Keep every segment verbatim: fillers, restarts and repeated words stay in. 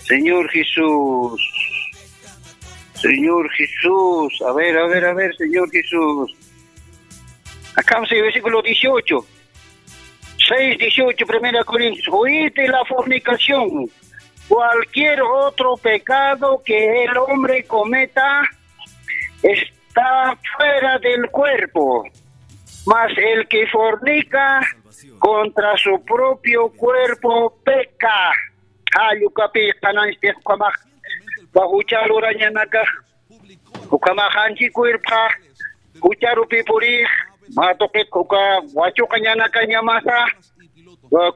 Señor Jesús. Señor Jesús. A ver, a ver, a ver, Señor Jesús. Acá sí, versículo dieciocho. Seis dieciocho, Primera Corintios. Huid de la fornicación. Cualquier otro pecado que el hombre cometa está fuera del cuerpo, mas el que fornica contra su propio cuerpo peca. Jallukapi qananchis ukhamax, uka jucha lurañanaka, ukhamax anchi cuerpoxa jucharupi purix, mä tuqit uka wachuqañanakañamasa,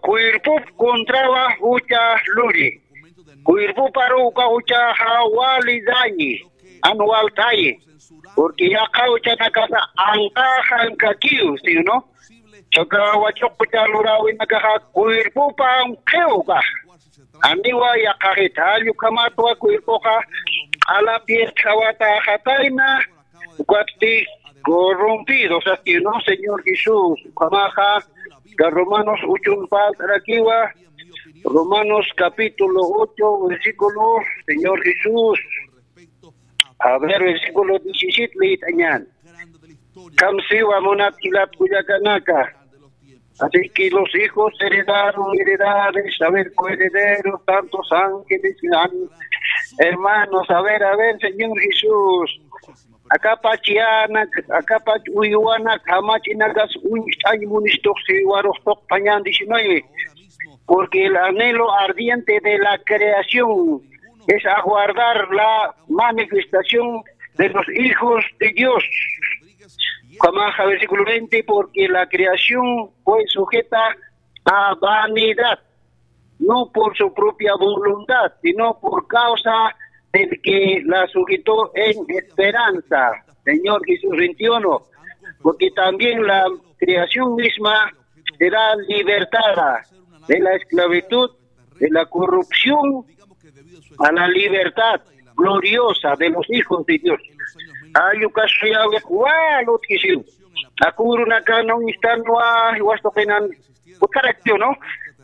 cuerpop contrawa jucha luri. Cuerpoparu uka juchaxa wali dañi, jan walt'ayi. Porque yaqha juchanakasa anqaxan kakiw, ¿sí o no? Uka wachuq jucha luräwinakaxa cuerpopa anqiw ukax. Janiwa yaqhaxit, jall ukhamatwa cuerpoxa q'alapir qhawataxatayna, ukatsti corrompido, o sea, que no, Señor Jesús, ukhamaxa, ka Romanos ochon parlt'arakiwa, Romanos capítulo ocho, versículo, Señor Jesús, a ver, versículo diecisiete, liyt'añän. Kamsiwa munat jilat kullakanaka. Así que los hijos heredaron heredades, a ver, coherederos, tantos ángeles, an-, hermanos, a ver, a ver, Señor Jesús. Akapach yanak, akapach uywanak, jamach'inakas uñst'añ munistuqsi waruxtuq pañan diecinueve. Porque el anhelo ardiente de la creación es aguardar la manifestación de los hijos de Dios. Ukhamaxa, versículo veinte, porque la creación fue sujeta a vanidad, no por su propia voluntad, sino por causa del que la sujetó en esperanza. Señor Jesús, veintiuno, porque también la creación misma será libertada de la esclavitud, de la corrupción, a la libertad gloriosa de los hijos de Dios. Jall uka suyawiq wal utjisiw. Akurunaka no instanwa, jiwastuqinan, ukaraktiw, ¿no?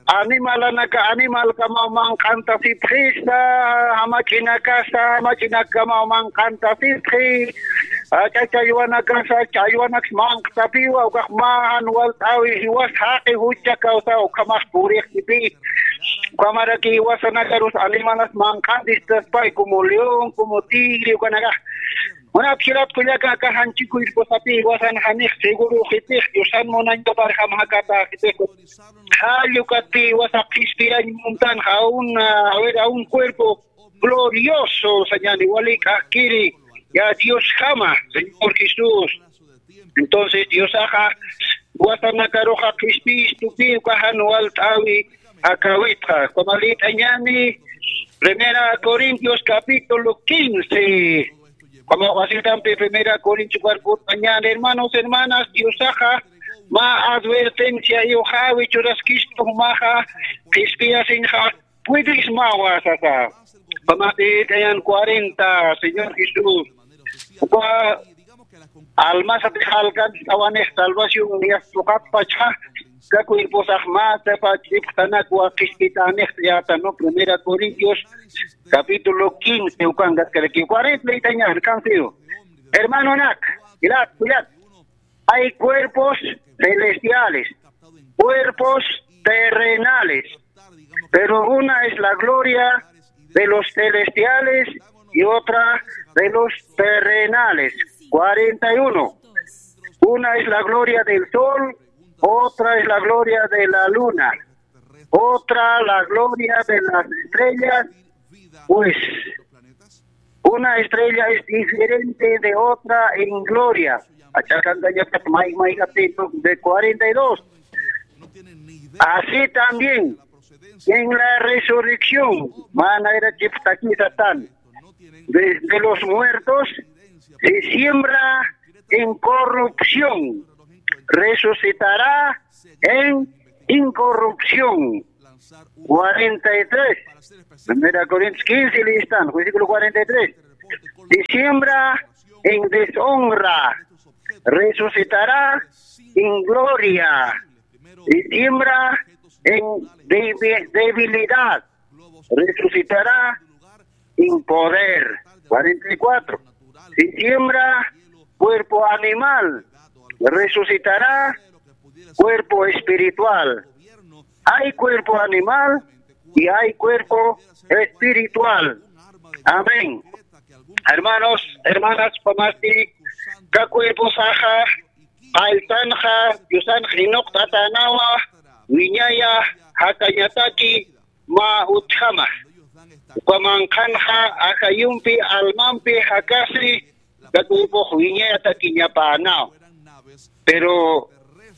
Animalanaka animalkamaw manq'antasipxista, jamach'inakasa jamach'inakkamaw manq'antasipxi, ch'allwanakasa ch'allwanaks manq'tapiwa, ukax mä jan walt'äwi jiwas jaqi jucha kawsaw ukhamax purixtipï. Ukhamaraki jiwasanakarus animalas manq'antistaspay, como león, como tigre, ukanakax. Munat jilat kullaka, aka janchi cuerposapï jiwasan janix seguro jitix, Diosan munañaparjam jakata jitix. Jall ukatpï jiwasa qhispirañ muntanxa, a un, a ver, a un cuerpo glorioso, sañäni, wali k'akkiri, ya Diosjama, Señor Jesús. Entonces Diosaxa jiwasanakaruxa qhispistupï uka jan walt'äwi akäwitxa. Ukhama liyt'añäni, Primera Corintios capítulo quince. Ukhama wasitampi Primera Corintios ukar kut'añäni, hermanos, hermanas, Diosaxa mä advertencia iyuxäwi churaskistu, jumaxa qhispiyasiñxa puedismawa sasa. Ukhamax liyt'añän cuarenta, Señor Jesús. Uka almasatix alcanzt'awanix salvación, yasta uqatpachxa, uka cuerposax mä sapach ipxtanakwa qhispitänixt'ayäta, ¿no? Primera Corintios, capítulo quince, ukankatkaraki. Cuarenta liyt'añän, canción. Hermanonak, jilat, jilat. Hay cuerpos celestiales, cuerpos terrenales, pero una es la gloria de los celestiales y otra de los terrenales. Cuarenta y uno. Una es la gloria del sol, otra es la gloria de la luna, otra la gloria de las estrellas, pues una estrella es diferente de otra en gloria. Achakankañapat may, may, de cuarenta y dos. Así también, en la resurrección, manera chiptakisatan, de, de los muertos, se siembra en corrupción, resucitará en incorrupción. Cuarenta y tres. Primera Corintios quince, listan, versículo cuarenta y tres. Y siembra en deshonra, resucitará en gloria, y siembra en debi-, debilidad, resucitará en poder. Cuarenta y cuatro. Si siembra cuerpo animal, resucitará cuerpo espiritual. Hay cuerpo animal y hay cuerpo espiritual. Amén. Hermanos, hermanas, pamasti, ka cuerposaxa, qalltanxa, Diosanxa inuqt'atänawa, wiñaya, jakañataki, mä utjama. Uka manqhanxa ajayumpi, almampi jakasi, ka cuerpox wiñayatakiñapänaw. Pero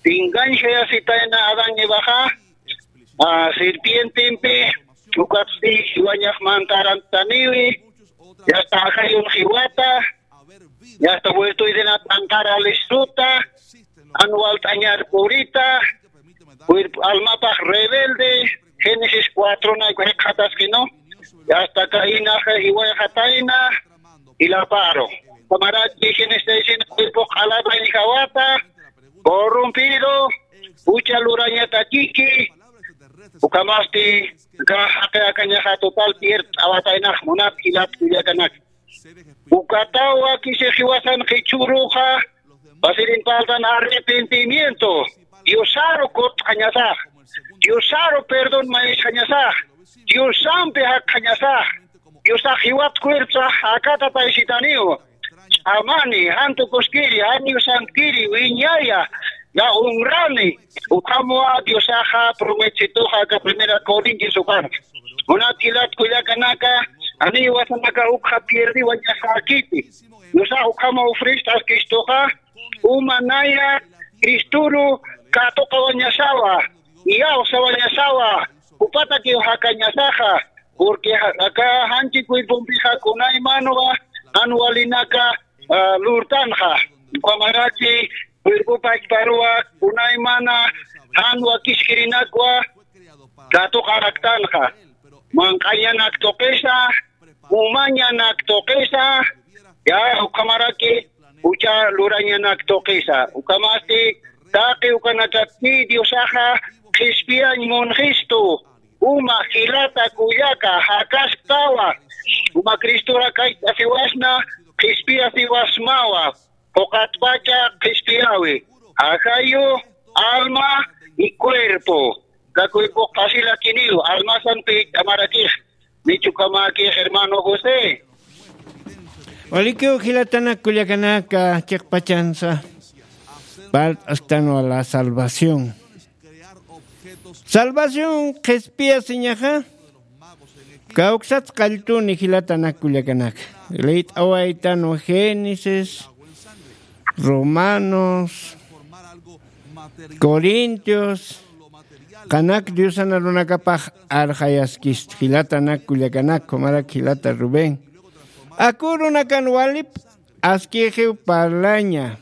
engañjayasitayna Adán Evaxa, a, serpientempi, ukatsti jiwañax mantaranttaniwi, yasta ajayun jiwata, yasta vuelto Edenat anqara listuta, jan walt'añar purita, cuerpo almapax rebelde, Génesis cuatro nay jikxatasqinu, yasta Cainaxa jiwayxatayna, jilaparu. Ukhamaraki Génesis seis cuerpo q'alatañ jawata, corrompido, jucha lurañatakiki, ukhamasti, ka jaqi akañaxa total pierdt'awataynax munat jilat kullakanaka. Ukataw wakisi jiwasan qhichhüruxa, pasirin parltan arrepentimiento, Diosaru kutt'añasax, Diosaru perdón mayisxañasax, Diosampi jakxañasax, Diosax jiwat cuerposax jakata taysitaniw, ch'amani, jan tukuskiri, jan Diosankiri, wiñaya, ya honrani, ukhamwa Diosaxa prometituxa aka Primera Corintios ukan. Munat jilat kullakanaka, janiw jiwasanaka ukxa pierdiwañaxäkiti. Diosax ukhama ofrest'askistuxa, uma naya Cristoru katuqawañasawa, iyawsawañasawa, jupatakiw jakañasaxa, porque ja-, aka janchi cuerpompixa kunaymanwa jan walinaka, a, lurtanxa. Ukhamaraki cuerpo pachparuwa kunaymana jan wakiskirinakwa katuqaraktanxa. Manq'añanak tuqisa, umañanak tuqisa, ya, ukhamaraki jucha lurañanak tuqisa. Ukhamasti taqi ukanakapti Diosaxa qhispiyañ munxistu, uma jilata kullaka, jakasktawa, uma Cristora kayt'asiwasna, qhispiyasiwasmawa, puqatpacha qhispiyäwi, ajayu, alma y cuerpo. Ka cuerpox pasilakiniw, almasan pich'amarakix, nichukhamäkix hermano José. Walikiw jilatanak kullakanaka chiqpachansa, parlt'asktanwa la salvación. Salvación qhispiyasiñaxa, kawksat qalltuni jilatanak kullakanaka. Liyt'awaytanwa Génesis, Romanos, Corintios, qanak Diosan arunakapax arxayaskistu, jilatanak kullakanak, ukhamarak jilata Rubén. Aku urunakan walip askixiw parlaña.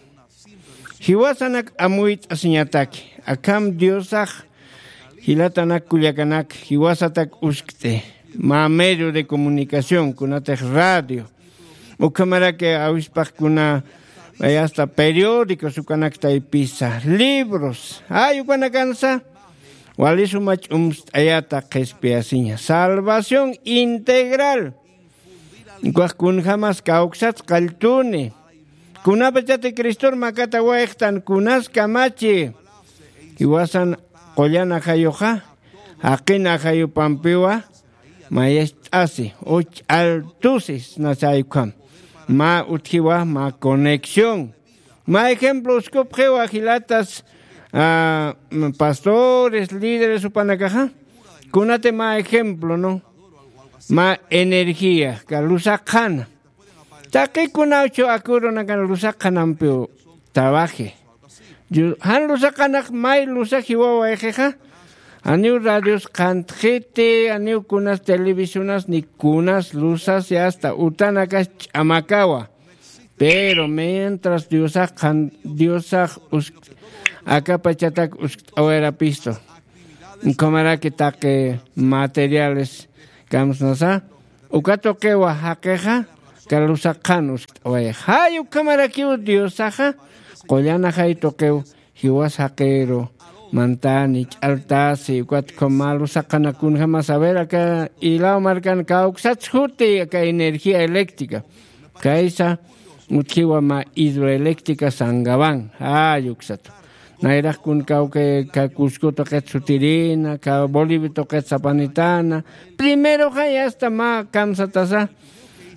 Jiwasanak amuyt'asiñataki. Akham Diosax jilatanak kullakanak jiwasatak uskt'i. Mä medio de comunicación, kunatix radio. Ukhamaraki awispax kuna, ay, hasta periódicos ukanak taypisa, libros, ay, ukanakansa wali suma ch'umst'ayata qhispiyasiña. Salvación integral. Ukax kunjamas kawksat qalltuni. Kunapachati Cristor makatawayxtan kunas kamachi. Jiwasan qullan ajayuxa, jaqin ajayupampiwa, mayacht'asi, uch'altusi, snasay ukham. Mä utjiwa, mä conexión. Mä ejemplo uskupxiwa jilatas, ah, pastores, líderes jupanakaxa. Kunati mä ejemplo, ¿no? Mä energía, ka lusaqxana. Taqi kunawchu aku urunakan lusaqxanampiw trabaji. Yu-, jan lusaqxanax may lusax jiwawayxixa. Janiw radios qhantxiti, janiw kunas televisionas ni kunas lusas, ya hasta utanakas ch'amakawa. Pero mientras Diosax qhan-, Diosax usk-, aka pachatak uskt'awayarapistu. Ukhamaraki taqi materiales kamsnasa, uka tuqiwa jaqixa, kalusaqan uskt'away. Jay ukhamarakiw Diosaxa, qullan ajay tuqiw, jiwas jaqiru, mantani, ch'altasi, ukat khumalusaqanakun jamas, a ver, aka ilaw markan kawksats juti aka energía eléctrica. Kaysa utjiwa mä hidroeléctrica Sangaban, jay uksat. Nayraqkun kawkay ka Cusco tuqit sutirina, ka Bolivia tuqit sapanitana. Primero jay hasta mä kamsatasa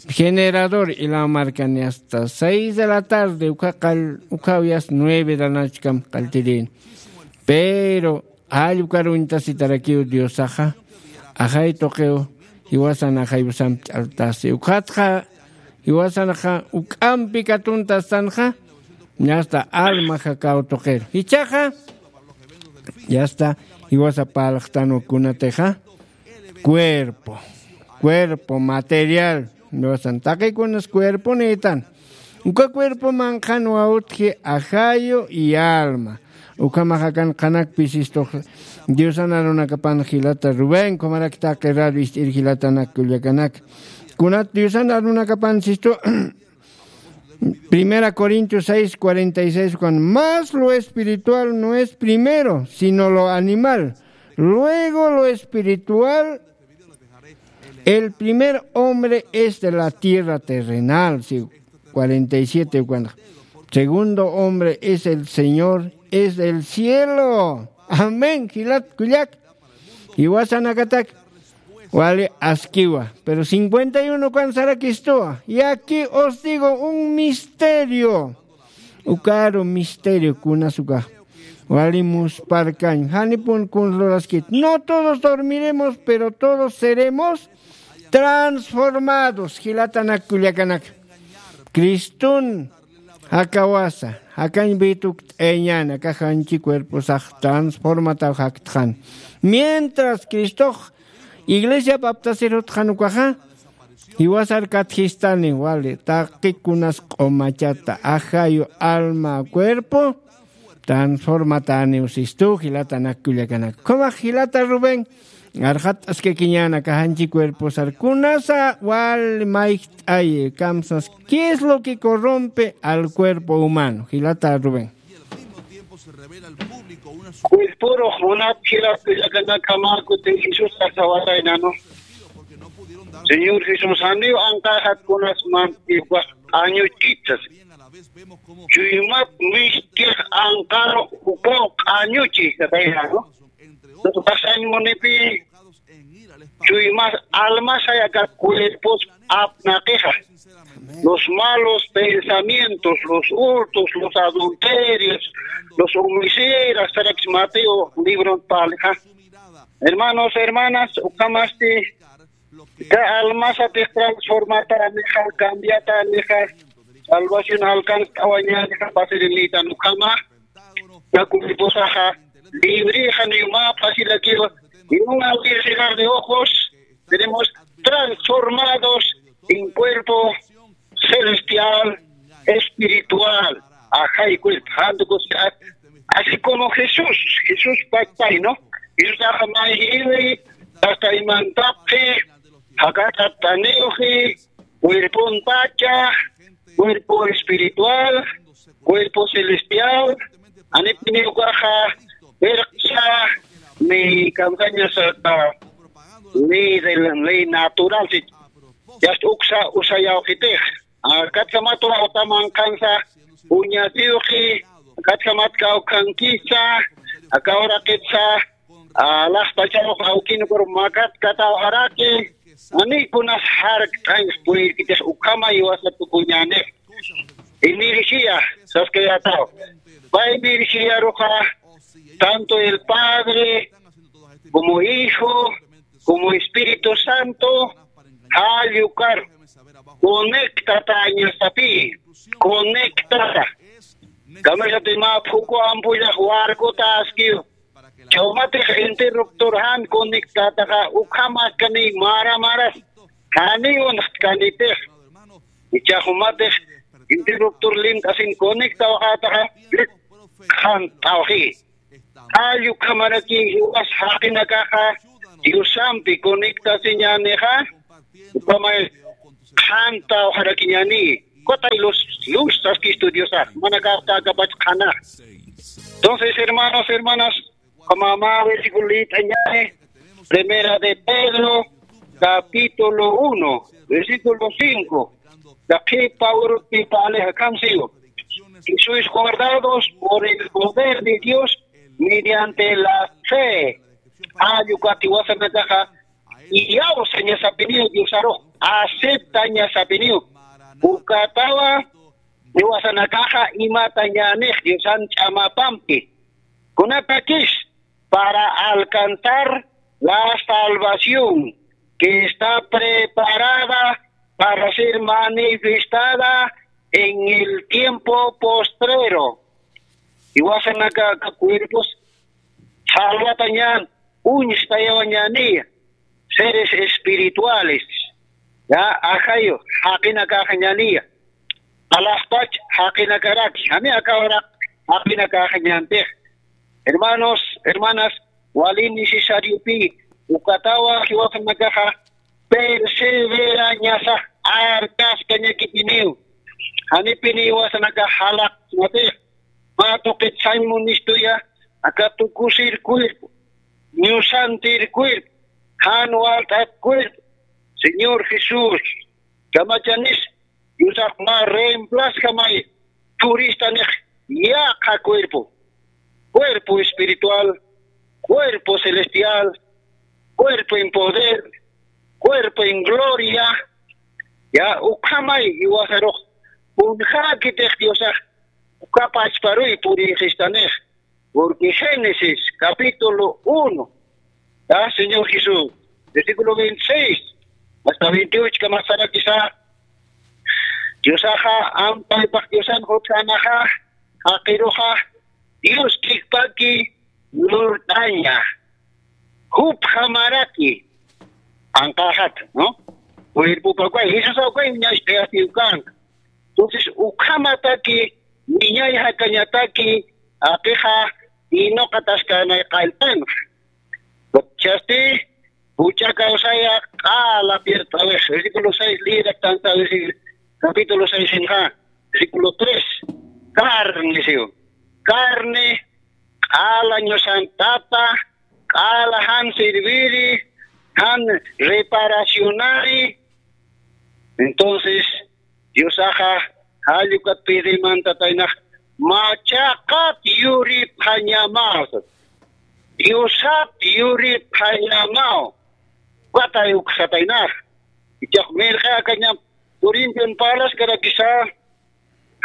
generador ilaw markani hasta seis de la tarde, ukha qall-, ukhaw yasta nueve de la noche kam qalltirin. Pero jall ukar uñtasitarakiw Diosaxa, ajay tuqiw, jiwasan ajayusamp ch'altasi. Ukhatxa, jiwasanxa, uk'ampi katuntastanxa, yasta alma jakaw tuqir. Jichhaxa, yasta, jiwasa parlaxtanwa kunatixa, cuerpo, cuerpo material. Diosan taqikunas cuerpo nitan. Uka cuerpo manqhanwa utji ajayu y alma. Ukhamaxa kan qhanakpis istux Diosan arunakapan jilata Rubén, khumarak taqi radio ist'ir jilatanak kullakanak. Kunat Diosan arunakapan sistu Primera Corintios seis cuarenta y seis, cuando más lo espiritual no es primero, sino lo animal, luego lo espiritual. El primer hombre es de la tierra terrenal, sí, cuarenta y siete, cuando segundo hombre es el Señor, es del cielo. Amén, jilat kullak. Jiwasanakatak wali askiwa. Pero cincuenta y uno kan sarakistuwa. Y aquí os digo un misterio. Ukaru misterio kunas uka. Wali musparkañ. Janipun kun luraskit. No todos dormiremos, pero todos seremos transformados. Jilatanak kullakanak. Cristun jakawasa, jakañ bitukt'ayañäni, aka janchi cuerposax transformataw jaktxan. Mientras Cristox iglesia baptasir jutxan ukaxa, jiwasar katjistani, wali, taqikunas q'umachata, ajayu, alma, cuerpo, transformatäniw sistu, jilatanak kullakanak. Ukhamax jilata Rubén, arxat'askakiñäni aka janchi cuerposar. Kunasa wal mayjt'ayi, kamsas, ¿qué es lo que corrompe al cuerpo humano? Jilata Rubén. Cuerpurux munat jilat kullakanak, kamakuti Jesús tasawataynanu. Señor Jesús, janiw anqaxat kunas mantiwa q'añuchitas. Chuymat miskix anqaru ukaw q'añuchi, katayna, ¿no? Pasañ munipi chuymas almas aka cuerpos apnaqixa. Los malos pensamientos, los hurtos, los adulterios, los homicidas, sarakis Mateo libro palixa. Hermanos, hermanas, ukhamasti Ka almasatix transformata nixa, cambiata nixa, salvación alcanzt'awaña nixa, facilita ukhama, ka cuerposaxa librixa niw mä facilakiwa, y un abrir y cerrar de ojos, tenemos transformados en cuerpo celestial, espiritual, ajay cuerpo, jantukus, así como Jesús, Jesús pachpay, ¿no? Jesús axa mayjiwi, hasta imantapxi, jakataptaniwxi, cuerpon pacha, cuerpo espiritual, cuerpo celestial, anipiniwkaxa, perqsa, ni kamsañasata, ley de la ley natural, si, ya uksa, usayawxitix. Akatsamat uraxta manqhansa uñasiwxi, akatsamat kawkhankisa, aka uraqitsa, alaxpacharux awkinkur makat kataw araki, anikunas jarkt'añx purirkitix ukhama iwasa tukuñänix. Energía, saskayätaw. Pay energía ruxa, tanto el Padre, como Hijo, como Espíritu Santo, jall ukar conectatañasapi, conectata. Kamisati mä phuku ampullax warkuta askiw. Chawmatix interruptor jan conectataxa, ukhamaskani mara maras, janiw unxtkanitix. Ichax jumatix interruptor lint'asin conectawxätaxa, qhant'awxi. Jall ukhamaraki jiwas jaqinakaxa Diosampi conectasiñänixa, ukhamay qhanta uxarakiñani. Kutay luz, luz saskistudiosa manakapta akapach qhana. Entonces, hermanos, hermanas, kamama versículo litañani, Primera de Pedro, capítulo uno, versículo cinco. Daqipa urutipale akamsiu. Y sois guardados por el poder de Dios mediante la fe. Ayukati wasanakaxa, iyawsaña sapiniu Diosarux, aceptaña sapiniu. Ukatawa, iwasanakaxa imatañanix Diosan ch'amapampi. Kunatakis para alcanzar la salvación que está preparada para ser manifestada en el tiempo postrero. Iwasanaka cuerpos salvatañan, uñstayawañani, seres espirituales, ya, ajayu, jaqinakaxañani, alaxpach jaqinakaraki, jami akawraq jaqinakaxañantix. Hermanos, hermanas, wali necesariopi, ukatawa jiwasanakaxa perseverañasa arkaskañakipiniw. Janipini jiwasanakax jalaqsmatix, mä tuqit sañ munistuya, aka tukusir cuerpo, ñusantir cuerpo, jan walt'at cuerpo, Señor Jesús, kamachanis, Diosax mä reemplazjamay, turistanix yaqha cuerpo, cuerpo espiritual, cuerpo celestial, cuerpo en poder, cuerpo en gloria, ya, ukhamay, iwasarux, kunjäkitix Diosax, ukapachparuy purixistanix. Porque Génesis capítulo uno, ya, Señor Jesús, versículo veintiséis hasta veintiocho, kamasarakisa, Diosaxa, ampaypax Diosan jutjanaxa, jaqiruxa, Dios kikpaki lurt'aña, jupjamaraki, anqaxat, ¿no? Cuerpopa ukay, Jesusa ukay, ñacht'ayasiw kanka. Entonces, ukhamataki, wiñay jakañataki, aqixa, inuqataskanay qalltanxa. Chasti, jucha kawsaya, q'ala piertawix, versículo seis, liraktansa, versículo, capítulo seis, inxa, versículo tres, carne, siw. Carne, q'ala ñusantapa, q'ala jan serviri, jan reparacionari. Entonces, Diosaxa, jallukat pidimantataynax, machaqat yuripxañamaw. Diosat yuripxañamaw. Ukatay uksataynax. Ichax mirqi akañam, Corintian parlaskarakisa,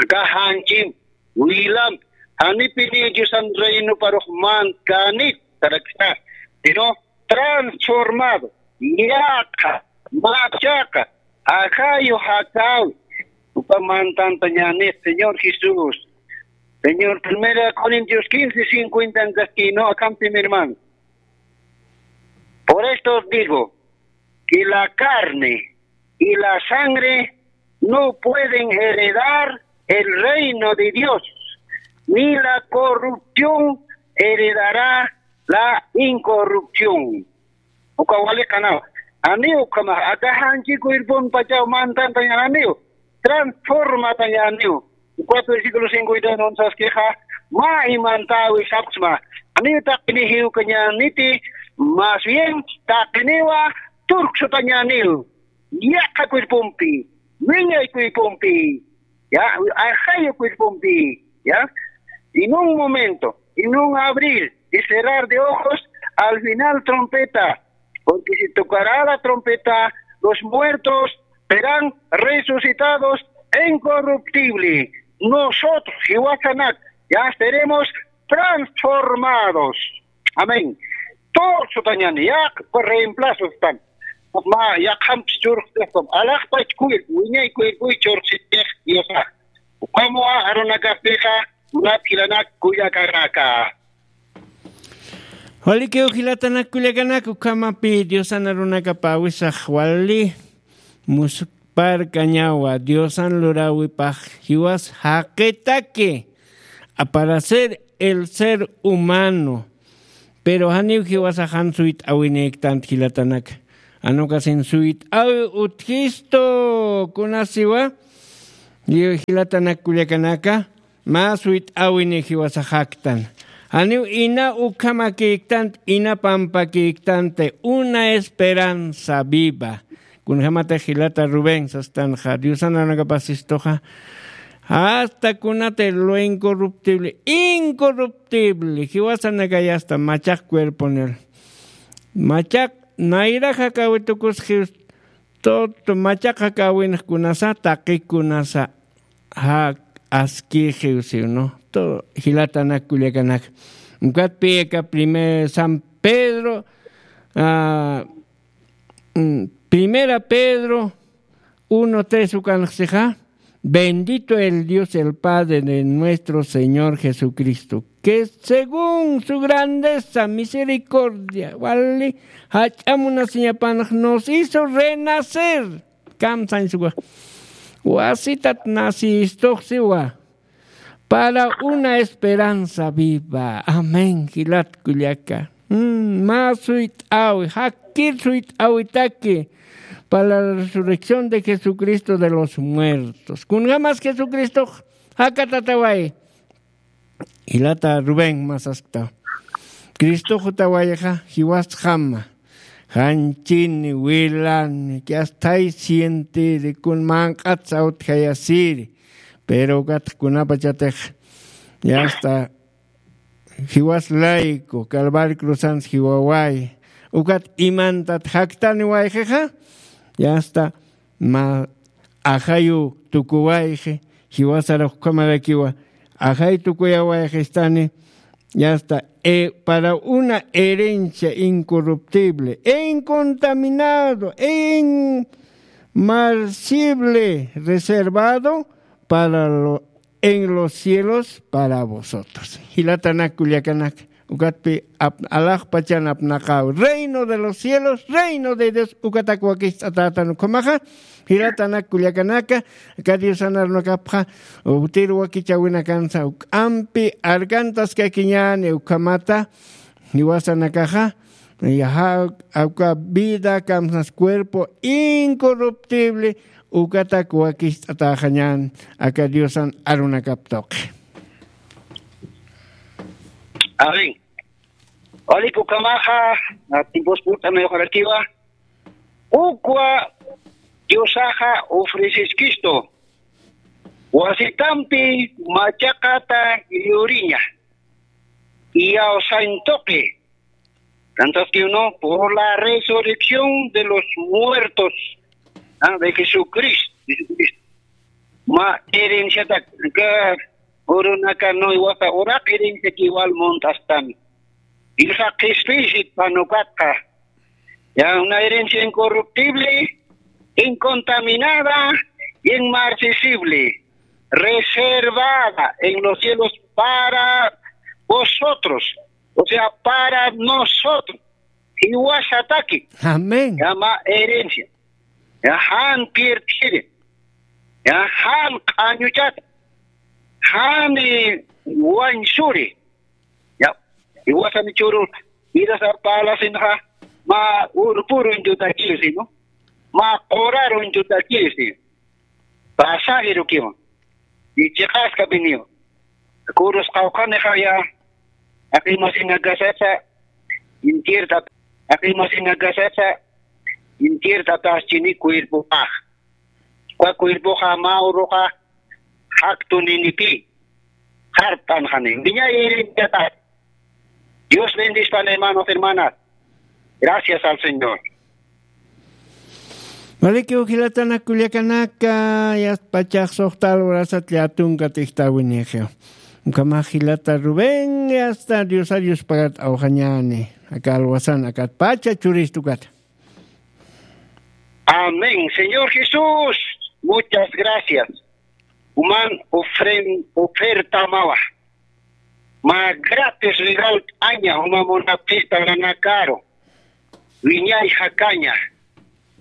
aka janchim, wilam, janipini Diosan reinoparux mantkänit, tarakista, sino transformado, yaqha, machaqa, ajayu jakawi, uka mantantañanix, Señor Jesús. Señor, Primera Corintios quince cincuenta en castellano, acá, mi hermano. Por esto os digo que la carne y la sangre no pueden heredar el reino de Dios, ni la corrupción heredará la incorrupción. Uka wali qanaw. Aniw ukhama, aka janchi cuerpon pachaw mantantañaniw, transformatañaniw. Cuatro versículo cincuenta y uno saskixa, ma imantawi sapxsma. Aniw taqini jiwkañaniti, más bien taqiniwa turksutañaniw. Yaqha cuerpompi, wiñay cuerpompi, ya, ajayu cuerpompi, ya. En un momento, en un abrir y cerrar de ojos, al final trompeta, porque se tocará la trompeta, los muertos serán resucitados incorruptible. Nosotros, jiwasanak, ya seremos transformados. Amén. Todos sutañan, ya reemplazo están. Ma, ya camps church, alaxpach cuerpo, wiñay cuerpo y church, Diosa. Ukamuwa arunakapixa, munat jilanak kullakanaka. Walikiw jilatanak kullakanak, ukhamapi Diosan arunakapa awisax wali musparkañawa, Diosan luräwipax jiwas jaqitaki, para ser el ser humano. Pero janiw jiwasax jan suyt'äwinïktant jilatanak. Anukasin suyt'awi utjistu kunasiwa. Jilatanak kullakanaka, mä suyt'awini jiwasaxaktan. Janiw ina ukhamakïktant, ina pampakïktanti, una esperanza viva. Kunjämatix jilata Rubén sastanxa, Diosan arunakapasistuxa, hasta kunati lo incorruptible, incorruptible, jiwasanakay hasta machaq cuerponir. Machaq nayrax jakäwi tukus jiws, todo machaq jakäwinx kunasa, taqi kunasa, ja, askïxiw siw, ¿no? Todo jilatanak kullakanaka. Ukatpï aka primer San Pedro, ah, mm, Primera Pedro uno tres ukanxsixa, bendito el Dios, el Padre de nuestro Señor Jesucristo, que según su grandeza, misericordia, wali, jach'a munasiñapanx nos hizo renacer. Kamsañsuwa. Wasitat nacïstux siwa. Para una esperanza viva. Amén, jilat kullaka. Mm, mä suyt'awi, jakkir suyt'awitaki para la resurrección de Jesucristo de los muertos. Kunjämas Jesucristox jakatataway. Jilata Rubén mä saskta. Cristox jutawayxa jiwasjama. Janchini, wilani, que hasta ahí sientiri, kun manq'at sawtjayasiri. Pero ukatx kunapachatix, ya está, jiwas layku, Calvario cruzans jiwaway. Ukat imantat jaktaniwayxixa, ya está, mä ajayu tukuwayxi, jiwasarux ukhamarakiwa, ajay tukuyawayxistani, ya está, eh, para una herencia incorruptible e incontaminado e inmarcesible, reservado para lo, en los cielos para vosotros. Jilatanak kullakanak, ukatpï ap-, alaxpachan apnaqäwi. Reino de los cielos, reino de Dios, ukatak wakicht'atätan ukhamaxa. Jilatanak kullakanaka, aka Diosan arunakapxa, utir wakichäwinakansa, juk'ampi arkantaskakiñäni ukhamata, jiwasanakaxa, ya, ja, aka vida, kamsas cuerpo incorruptible, ukatak wakicht'atäxañän, aka Diosan arunakap tuqi. Amén. Walik ukhamaxa, a tiempos purt'anayuqarakiwa, ukwa Diosaxa ofreciskistu, wasitampi machaqata yuriña, iyawsan tuqi, tantaski uno, por la resurrección de los muertos, ah, de Jesucristo, Jesucristo. Mä herenciatak, aka urunaka nuywasa uraq herenciak igual munt'astami. Ilsa qhispiysit panukatqa. Ya, una herencia incorruptible, incontaminada y inmarcesible, reservada en los cielos para vosotros, o sea, para nosotros. Jiwasataki. Amén. Ya, mä herencia. Ya, jan pierdiri. Ya, jan q'añuchata. Jan, eh, wañsuri. Ya, jiwasan churu, irasa parlasinxa, mä urpurun tutakisi, ¿no? Mä qurarun tutakisi. Pasajerukiwa. Y chiqaskapiniwa. Kurus qawqhanixa ya, aqimasinakasasa, intier tata, aqimasinakasasa, intier tataschini cuerpopax. Uka cuerpoxa mä uruxa jaktuninipï, jart'anxani. Wiñay herenciatat. Dios bendispan, hermanos, hermanas. Gracias al Señor. Walikiw jilatanak kullakanaka, yasta pachax suxta alwarasat llätunkat ijtawinixiw. Ukhamax jilata Rubén, yasta Diosar yuspagat awxañäni. Aka alwasan akat pacha churistu ukat. Amén. Señor Jesús, muchas gracias. Uman ofren-, ofertamawa. Mä gratis regalt'aña, uma munapxista nanakaru. Wiñay jakaña.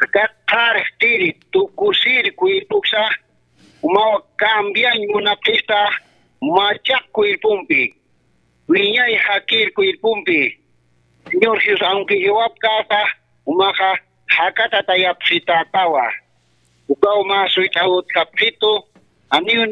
Aka qharjtiri, tukusiri cuerpoksa, umaw cambiañ munapxista, machaq cuerpompi. Wiñay jakir cuerpompi. Señor Jesús, aunque jiwapkasa, umaxa jakatatayapxitatawa. Ukaw mä suyt'awutkapxitu, janiw